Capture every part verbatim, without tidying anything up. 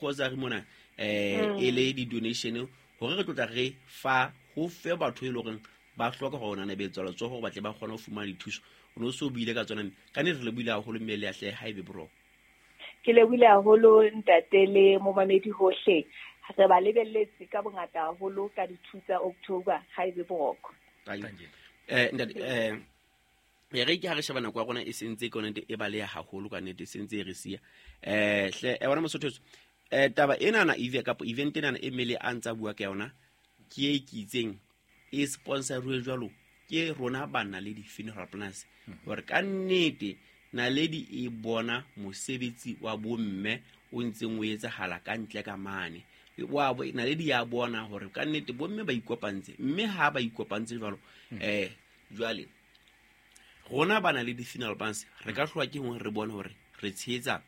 Grocery mona eh e le di-donation hore re tlotla re fa ho fe batho e leng hore ba hloka hore ona nebetsa letsoho hore ba tle ba kgone ho fumana dithuso. O no so buile ka tsona, ka nnete re lebohile haholo, mme le ahle ha ebe boroko. Ke lebohile haholo, ntate, le momamedi hohle. Re ba lebelletse ka bongata haholo ka di-two tsa October. Ha ebe boroko. eh ntate, eh e re ke ha re sheba nako ya rona e sentse ke yone e baleha haholo ka nnete, e sentse e re siya. eh hle e bona mosotho, eh taba enana eve kapa event enana e mmele a ntsa bua ka yona ke e ke itseng e sponsoruwe jwalo ke rona ba Naledi Funeral Plans, hore ka nnete Naledi e bona mosebetsi wa bomme o ntseng o etsahala ka ntle ka mane wa Naledi ya bona hore ka nnete bomme ba ikopantse, mme ha ba ikopantse jwalo, eh jwale rona ba Naledi Funeral Plans re ka hloka ke hore re bone hore re tshehetsa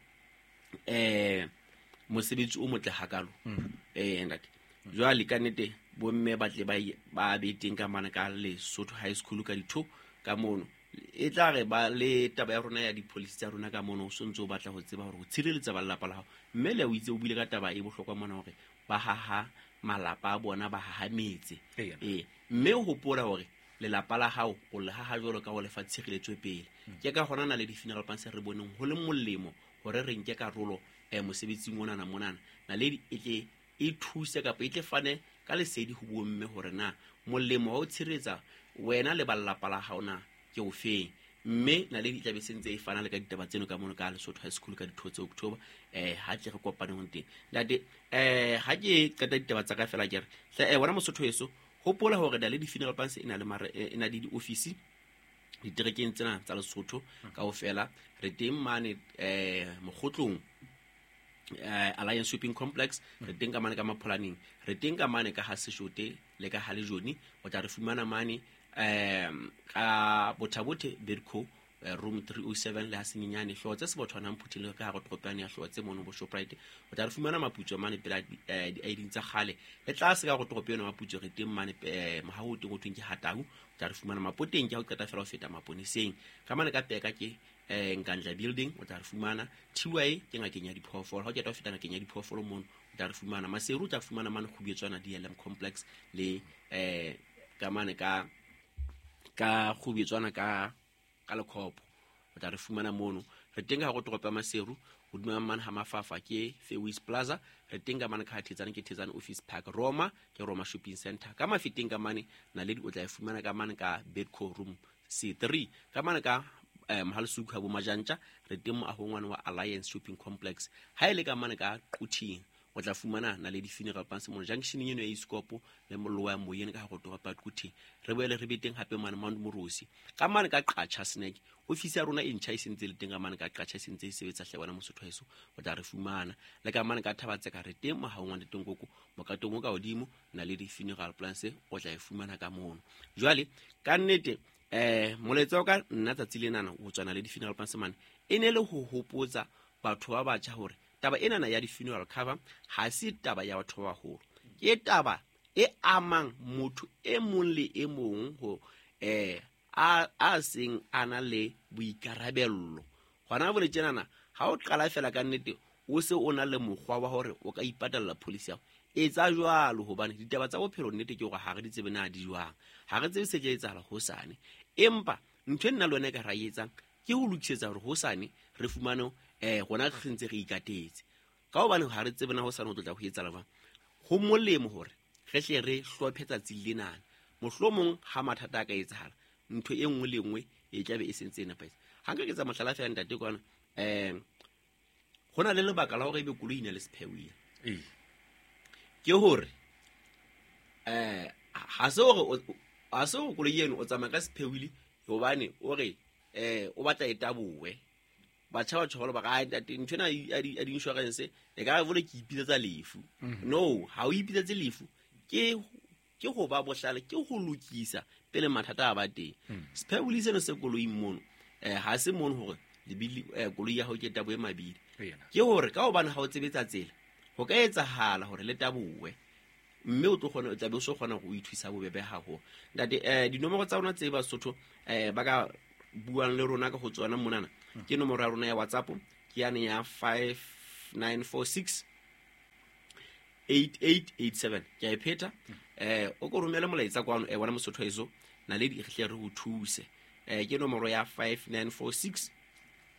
eh mosebetsi o motle hakalo. eh ntate, jwale ka nnete bomme ba tle ba ba be teng ka mane ka Lesotho High School ka ditho ka mono. E tla re ba le taba ya rona ya di-policy tsa rona ka mono, o sontse o batla ho tseba hore ho tshireletsa ba lelapa la hao. Mme le o itse o buile ka taba e bohlokwa mona hore ba haha malapa a bona, ba haha metse. Ee, mme o hopola hore lelapa la hao o le haha jwalo ka ho lefa tshireletso pele. Ke ka hona Naledi Funeral Plans re boneng ho le molemo hore re nke karolo um mosebetsing onana monana. Naledi e tle e thuse kapa e tle fane ka lesedi ho bomme hore na molemo wa ho tshireletsa wena le ba lelapa la hao na ke o feng. Mme Naledi e tlabe sentse e fana le ka ditaba tseno ka mono ka Lesotho High School ka ditho tse October. eh ha tle re kopane ho teng, ntate. eh ha ke qeta ditaba tsa ka fela, ke re hle eh wena mosotho heso, hopola hore Naledi Funeral Plans e na le mare e na le di-office diterekeng tsena tsa Lesotho kaofela. Re teng mane eh Mokgotlong, eh Alliance Shopping Complex. Re teng ka mane ka Mapholaneng, re teng ka mane ka ha Seshote le ka ha Lejone. O tla re fumana mane um ka Bothabothe Bedco, room three oh seven, le ha Senyenyane Hlotse Sebothwana Mphuthing ka hare toropane ya Hlotse mono bo Shoprite. O tla re fumana Maputso mane pela di-I D tsa kgale le tlase ka hore toropo eno Maputso. Re teng mane mohaho o teng o thweng ke Hatau. O tla re fumana Mapoteng ke ha o qeta fela ho feta maponeseng ka mane ka Peka ke um Nkandla Building. O tla re fumana T Y ke ngakeng ya diphoofolo, ha o qeta ho feta ngakeng ya diphoofolo mono o tla re fumana Maseru. O tla fumana mane Kgubetswana D L M Complex le um ka mane ka ka Kgubetswana ka ka Lekhopo o tla re fumana mono. Re teng ka hare toropo ya Maseru, hodima mane ha Mafafa ke Fairways Plaza. Re teng ka mane ka ha Thetsane ke Thetsane Office Park. Roma ke Roma Shopping Center. Ka Mafeteng ka mane Naledi o tla e fumana ka mane ka Bedco room C three. Ka mane ka eh, Mohalasuku ha bo Majantja re teng moahong wane wa Alliance Shopping Complex. Ha e le ka mane ka Quthing o tla fumana Naledi Funeral Plans mono junctioneng eno ya Iskopo le mollo wa moyeng ka hare toropo ya Quthing. Re boele re be teng hape mane Mount Morosi ka mane ka Qacha Snack. Ofisi ya rona e ntjha e sentse le teng ka mane ka Qacha, e sentse e sebetsa. Hle wena mosotho heso, o tla re fumana le ka mane ka Thabatseka. Re teng mohaong wa Ntetenkoko mokatong o ka hodimo. Naledi Funeral Plans o tla e fumana ka mono. Jwale ka nnete eh molaetsa wa ka nna tsatsi lenana ho tswa Naledi Funeral Plans mane e ne le ho hopotsa batho ba batjha hore taba enana ya di-funeral cover ha se taba ya batho ba baholo, ke taba e amang motho e mong le e mong ho eh a a seng a na le boikarabello hona bole tjenana. Ha o qala fela ka nnete o se o na le mokgwa wa hore o ka ipatalla policy ya hao, etsa jwalo, hobane ditaba tsa bophelo nnete ke hore ha re di tsebe na di jwang, ha re tsebe se tla etsahala hosane. Empa ntho e nna le wena e ka ra e etsang ke ho lokisetsa hore hosane re fumane eh rona re ntse re ikatetse, ka hobane ha re tsebe na hosane ho tlotla ho etsahala jwang. Ho molemo hore re hle re hlophe tsatsi lenana, mohlomong ha mathata a ka etsahala ntho e nngwe le nngwe e tlabe e sentse e nepahetse. Ha nka ke tsa mohlala fela, ntate, kwana um ho na le lebaka la hore ebe koloi e na le spare wheel. Ee ke hore eh ha se hore ha se hore koloi eno o tsamaya ka spare wheel hobane o re eh o batla e tabowe. Batjha ba tjholo ba re, ntate, ntho ena ya di-insurance e ka re vole ke ipitsetsa lefu. No, ha o ipitsetse lefu, ke ke ho ba bohlale, ke ho lokisa pele mathata a ba teng. Spare wheel seno se koloing mono eh ha se mono hore lebili eh, koloi ya hao ke taboe mabidi. Ena. Ke hore ka hobane ha o tsebetsa tsela ho ka etsahala hore le tabowe, mme o tlo kgona, o tlabe o so kgona hore o ithusa bobebe haholo. Ntate, eh dinomoro tsa rona tse Basotho eh ba ka buang le rona ka ho tsona monana ke nomoro ya rona ya WhatsApp, ke yane ya five nine four six. eight eight eight seven. Ke a e pheta. Eh o ko romele molaetsa kwano eh wena Mosotho heso Naledi re hle re ho thuse. Eh ke nomoro ya five nine four six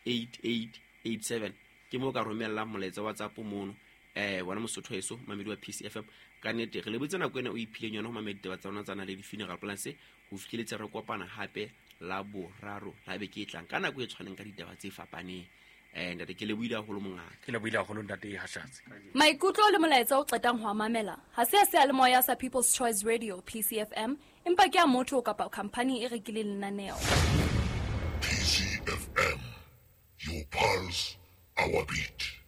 eight eight eight seven. Ke mo ka romellang molaetsa WhatsApp mono. Eh wena Mosotho heso mamedi wa P C F M ka nnete re lebotse nako ena o iphileng yona ho mamedi ditaba tsa rona tsa Naledi Funeral Plans ho fihleletse re kopana hape la boraro la beke e tlang ka nako e tshwaneng ka ditaba tse fapaneng. Eh ntate ke lebohile haholo mongaka. Ke lebohile haholo ntate Hashatsi. Maikutlo le molaetsa o qetang ho mamela ha se a seyalemoya sa People's Choice Radio P C F M empa ke a motho kapa company e rekileng lenaneo. P C F M, your pulse, our beat.